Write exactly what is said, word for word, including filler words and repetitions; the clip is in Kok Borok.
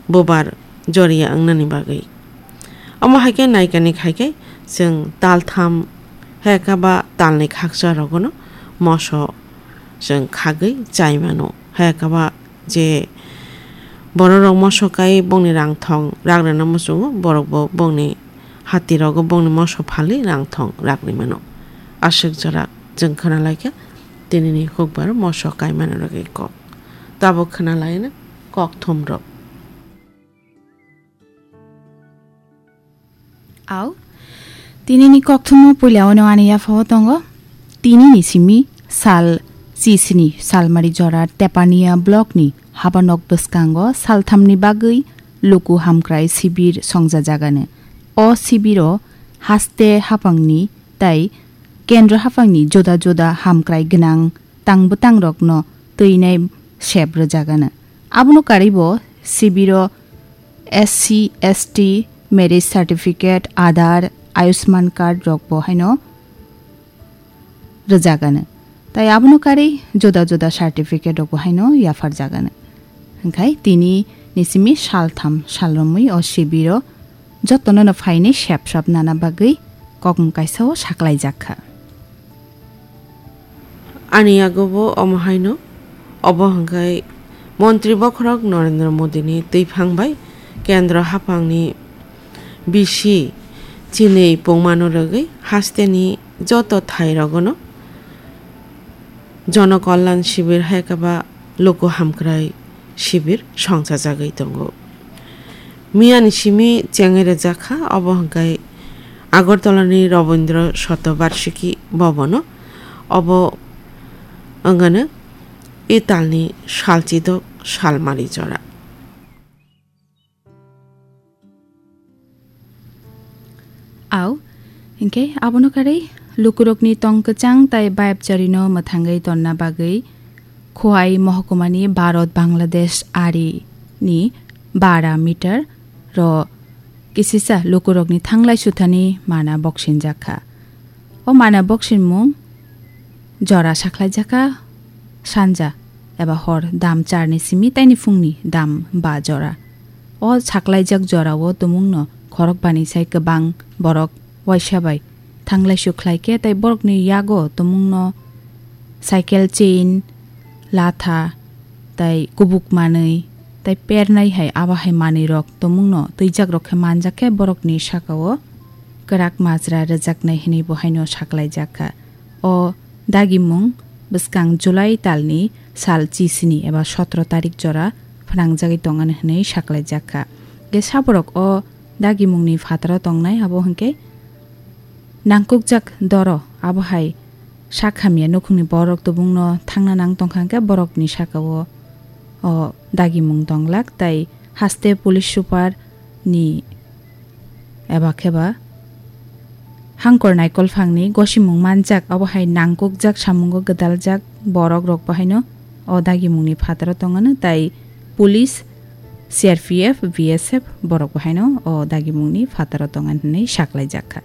bubar joriya wngnani bagwi. Omo hai khe naikani khai khe chwng taltham hai khe ba talni khakcha rogono moso chwng khagwi chai mano. Hai khe ba je bororok moso kai bongni rang thong rak rwna muchungo, borokbo bongni hatirogo bongni moso phalwi rang thong rak rwi mano. Aswk jora chwng khna lai kha tinini hukbar moso kai mano rwgwi kok. Tabuk khna lai na kok thumrok. Au, tinini kokthumo puila ono ani yaphao tongo. Tinini simi sal chisini Salmari jora Tepania block ni habanok bwskango salthamni bagwi luku hamkrai sibir songjajagano. O sibiro haste haphangni tai kendro haphangni juda juda hamkrai gwnang tang bwtangrokno twinai sep rwjagano. Abono karwibo sibiro S C, S T, marriage certificate, Aadhaar, Ayushman card rokbo haino rwjagano. Tai abono karwi juda juda certificate rokbo haino yapharjagano. Hwnkhe tini ni simi saltham salromwi o sibiro jotono no phainai sep sap nana bagwi kokmung kaisa o saklaijak kha. Ani yago bo omo haino, obo hwnkhe Montri Bokhorok Narendra Modini twiphang bai Kendra haphangni bisi chinwi pungmano rwgwi hasteni joto thairogono Jono Kalyan Shibir hai khe ba Luku Hamkrai Shibir songchajagwi tongo. Miyani simi chengwi rwjak kha, obo hwnkhe Agartalani Rabindra Shatobarshiki Bhavan-o. Obo wngano e talni salchidok salmari jora. Au, hinkhe abono karwi lukurokni tong kwchang tai bayapcharino mwthangwi tonna bagwi Khowai mohkumani Bharat Bangladesh arini bara meter ro kisisa lukurokni thanglai suthani mana boksinjak kha. O mana boksinmung jora sakhlaijakha sanja eba hor dam charni simi taini phungni dam ba jora. O saklaijak jorao tumungno khorok bani sai kwbang borok waisa bai thanglai sukhlai khe tai borokni yago tumungno cycle chain, latha, tai kubuk manwi, tai pernai hai abo hai manwi rok tumungno twijak rok khe manjak khe borokni sakao kwrak majra rwjaknai hwnwi bo haino saklaijak kha. O dagimung bwskang July talni sal chisini eba sotro tarik jora phnangjagwi tongani hwnwi saklaijak kha. Khe saborok o dagimungni phataro tongnai abo hwnkhe nangkukjak doro abo hai sak hamya nukhungni borok tubungno thangna nang tongkha hwnkhe borokni sakao o dagimung tonglak tai haste police super ni eba khe ba hangkor naikolphangni gosimung manjak, abo hai nangkukjak samungo gwdaljak borok rok bo haino o dagimungni phataro tongano tai police, C R P F, B S F borok bo haino o dagimungni phataro tongan hwnwi saklaijak kha.